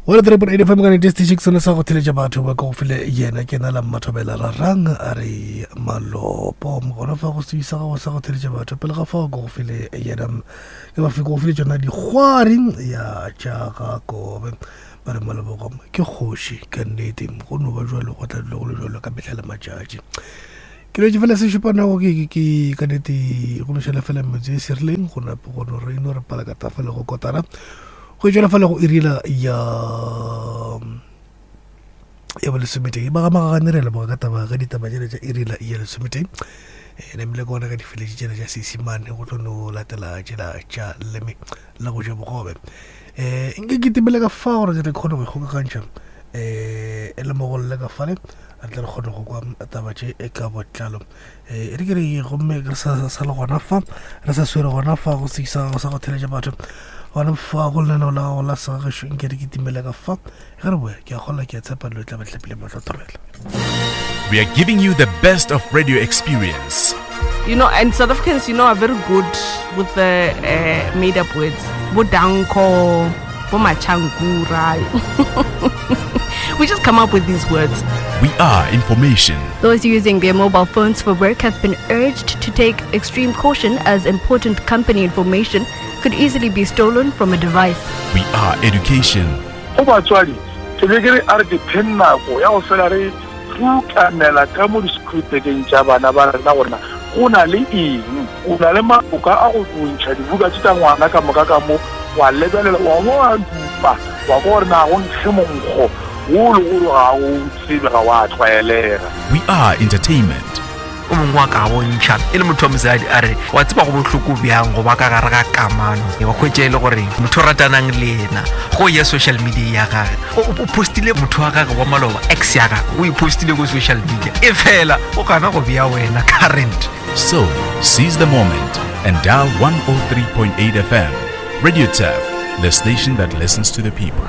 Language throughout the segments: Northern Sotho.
103.8 FM ka nete station ke sone sa go theletša batho ba ka go file yena ke na la mmathobela rarang a re malopo gona fa go sebisa gago sa go theletša batho pele ga fao ke go file yena ke ba go file tšona dikgwari ya tša ga kobe ba re malebogo ke kgoši ka nnete go no ba jalo go tla dula go le jalo ka mehla le matšatši ke letse fela se šupa nako ke ke ka nete go no šala fela metse e serileng go nape go no re no re pala ka tafele go kotara go tšwela fela go irila ya ya bolesometee ba ga magagane re leboga ka taba ka ditaba tšele tša irila ya lesometee eh, namile ke bona ka difeletše tšele tša seesimane go tlo no latela tšela tša leme la go ja bogobe um nke ke timele ka fa gore ke tle kgone go ikgokagantšha um e le mogolle ka fale re tle re kgone go kwa taba tše e ka botlalo eh, e re ke re gomme re sa sa le gona fa re sa swere gona fa go sekisa go sa go theletša batho gona fa go lenaneo la gago la segagešo nke re kitimele ka fa ge re boya ke a kgola ke a tshepa dilo tla batlhapile matlho thobela We are giving you the best of radio experience. You know, and South Africans, you know, are very good with the uh, made up words. Bodanko, Bomachangura. we just come up with these words. We are information. Those using their mobile phones for work have been urged to take extreme caution as important company information could easily be stolen from a device. We are education. Go batswadi, ke be ke re a re dipheng nako ya go fela re rukanela ka mo di-school-bageng tša bana ba rena gore na go na le eng. O na le maloka a go ntšha dibuka tše tša ngwana ka moka ka mo, wa lebelela, wa bo wa dupa, wa kwa gore na go nkge monkgo wo le gore ga o tsebe, ga wa tlwaelega. We are entertainment. O mongwe wa ka bontšha e le motho wa mosadi a re wa tseba go bohloko bjang go ba ka gare ga kamano wa hwetša e le gore motho o ratanang le yena go ya social media ya gage o postile motho wa gage wa maloba ex ya gage o e postile ko social media e fela o gana go bea wena current. So, seize the moment and dial 103.8 FM. Radio Turf, the station that listens to the people.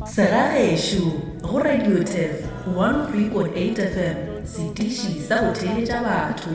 Segagešo go Radio Turf 103.8 FM, setiši sa go theeletša batho.